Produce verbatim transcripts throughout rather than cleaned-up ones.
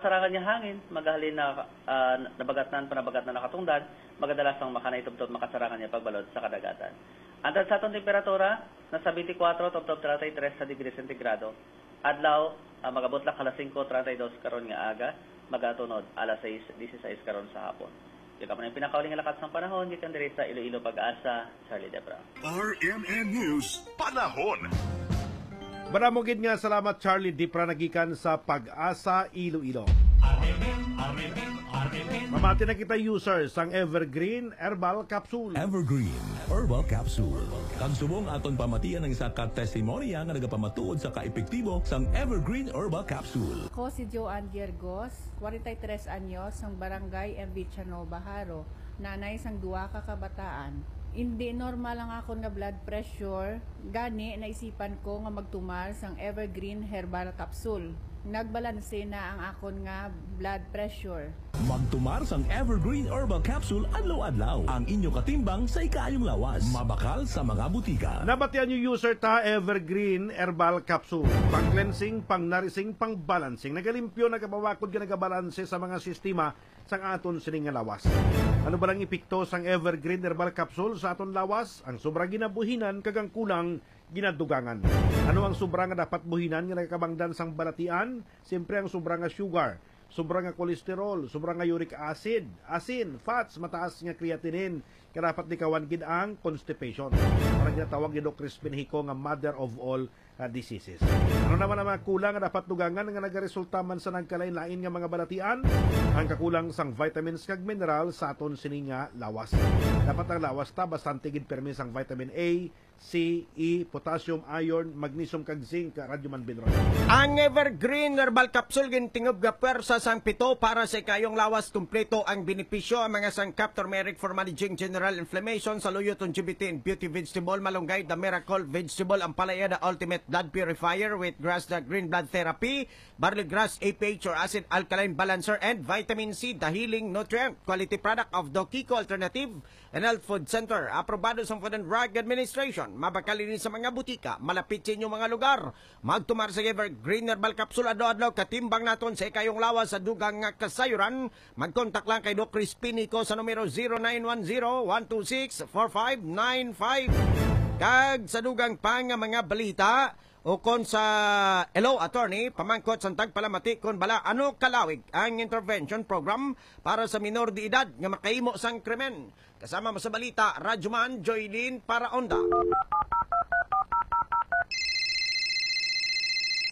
Sarangan nga hangin, magahalin na, ah, nabagatnan, panabagatnan nakatungdan, magadalas sang makanay tubtob makasarangan nga pagbalod sa kadagatan. Antad sa aton temperatura, nasa twenty-four tubtob treinta y tres sa degree sentigrado. Adlaw, ah, magabot lang alas singko treinta y dos karon nga aga, magatunod alas sais dieciséis karon sa hapon. Yun naman ang pinakauli nga lakat sang panahon gikan diri sa Iloilo, Pag-asa, Charlie Debra. R M N News, panahon. Madamo gid nga salamat, Charlie Dipra, nagikan sa Pag-asa, Iloilo. R M N, R M N, R M N. Mamati na kita, user, sang Evergreen Herbal Capsule. Evergreen Herbal Capsule. Kag subong aton pamatian ang isa ka testimonya nga nagapamatuod sa kaepektibo sang Evergreen Herbal Capsule. Ako si Joanne Diergos, forty-three anyos, sang Barangay Enviciano, Baharo, nanay sang duha ka kabataan. Indi normal ang akon nga blood pressure, gani naisipan ko nga magtumar sang Evergreen Herbal Capsule. Nagbalanse na ang akon nga blood pressure. Magtumar sang Evergreen Herbal Capsule adlaw-adlaw. Ang inyo katimbang sa ikaayong lawas. Mabakal sa mga butika. Nabatian niyo, user, ta, Evergreen Herbal Capsule. Pang-cleansing, pang-nourishing, pang-balancing. Nagalimpyo, nagapabakod, nga nagabalanse sa mga sistema sang aton sining nga lawas. Ano ba lang epekto sang Evergreen Herbal Capsule sa aton lawas? Ang sobra ginabuhinan kag ang kulang ginadugangan. Ano ang sobra nga dapat buhinan nga nagakabangdan sang balatian? Siyempre, ang sobra nga sugar, sobra nga cholesterol, sobra nga uric acid, asin, fats, mataas nga creatinine, kaya dapat likawan gid ang constipation. Parang ginatawag ni Doc Crispin Hico nga mother of all, ah, diseases. Ano naman ang mga kulang nga dapat dugangan nga nagaresulta man sa nagkalain-lain nga mga balatian? Ang kakulang sang vitamins kag mineral sa aton sini nga lawas. Dapat ang lawas ta bastante gid permi sang vitamin A, C, E, potassium, iron, magnesium, kag zinc, Radyo Man Binron. Ang Evergreen Herbal Capsule gintingob nga pwersa sang pito para sa ikayong lawas. Kompleto ang benepisyo, ang mga sangkap: turmeric for managing general inflammation, saluyot, longevity, and beauty vegetable, malunggay, the miracle vegetable, ampalaya, the ultimate blood purifier, wheatgrass, the green blood therapy, barley grass, A P H or acid alkaline balancer, and vitamin C, the healing nutrient. Quality product of Dokico Alternative, and Health Food Center, aprobado sa Food and Drug Administration. Mabakal ini sa mga butika malapit sa inyong mga lugar. Magtumar sa Evergreen Herbal Capsule adlaw-adlaw, katimbang naton sa ikayong lawas sa dugang nga kasayuran. Magkontak lang kay Doc Crispin Hico sa numero zero nine one zero, one two six, four five nine five. Kag sa dugang pa nga mga balita, ukon sa Hello Attorney, pamangkot sang tagpalamati kon bala ano kalawig ang intervention program para sa minor de edad nga makahimo sang krimen. Kasama mo sa balita, Radyoman Joylene Paraonda.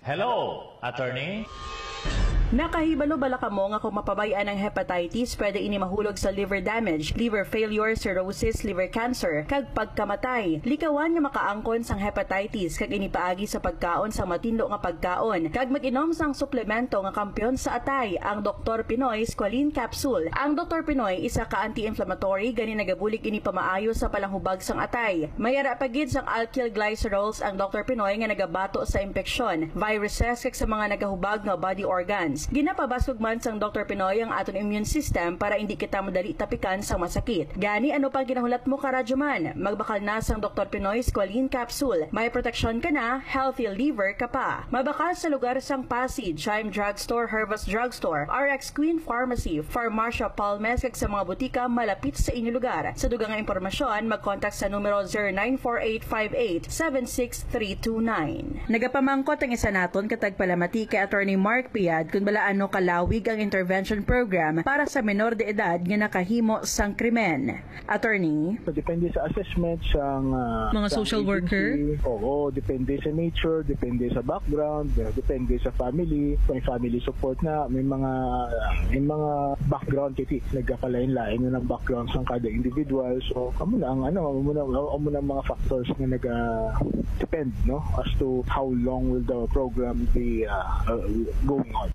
Hello, Attorney. Nakahibalo bala kamo nga kung mapabay-an ang hepatitis, pwede ini mahulog sa liver damage, liver failure, cirrhosis, liver cancer, kag pagkamatay? Likawan nga makaangkon sang hepatitis, kag ini paagi sa pagkaon sang matinlo nga pagkaon, kag mag-inom sang suplemento nga kampiyon sa atay, ang Doktor Pinoy Squalene Capsule. Ang Doktor Pinoy isa ka anti-inflammatory, gani nagabulig ini pamaayo sa palanghubag sang atay. May ara pa gid sang alkyl glycerols ang Doktor Pinoy nga nagabato sa impeksyon, viruses, kag sa mga nagahubag nga body organs. Ginapabasog man sang Doktor Pinoy ang aton immune system para indi kita madali tapikan sang masakit. Gani, ano pang ginahulat mo, Karadyoman? Magbakal na sang Doktor Pinoy Squalene Capsule. May proteksyon ka na, healthy liver ka pa. Mabakal sa lugar sang Pasig, Chime Drugstore, Hervas Drugstore, R X Queen Pharmacy, Farmacia Palmes, kag sa mga butika malapit sa inyo lugar. Sa dugang nga impormasyon, mag-contact sa numero zero nine four eight five eight seven six three two nine. Nagapamangkot ang isa naton ka tagpalamati kay Attorney Mark Piad kung bala ano kalawig ang intervention program para sa menor de edad nga nakahimo sang krimen. Attorney? So, depende sa assessment sang, ah, Mga sang social agency. Worker? Oo, depende sa nature, depende sa background, eh, depende sa family. Kung may family support na, may mga, may mga background, kasi nagkakalain-lain na ng background sang kada individual. So, amo na ang, ano, amo na, amo na ang mga factors na nag, ah, depend, no, as to how long will the program be, ah, uh, going on.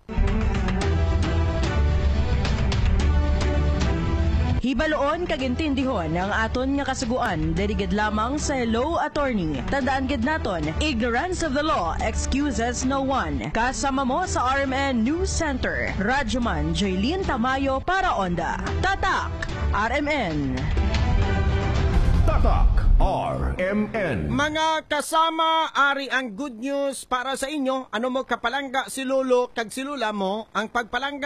Hibaloon kag intindihon ang aton nga kasugoan diri gid lamang sa Hello Attorney. Tandaan gid naton, ignorance of the law excuses no one. Kasama mo sa R M N News Center, Radyoman Jaylene Tamayo para Onda. Tatak R M N. Tatak R M N. Mga kasama, ari ang good news para sa inyo. Ano mo kapalangga si lolo kag si lola mo, ang pagpalangga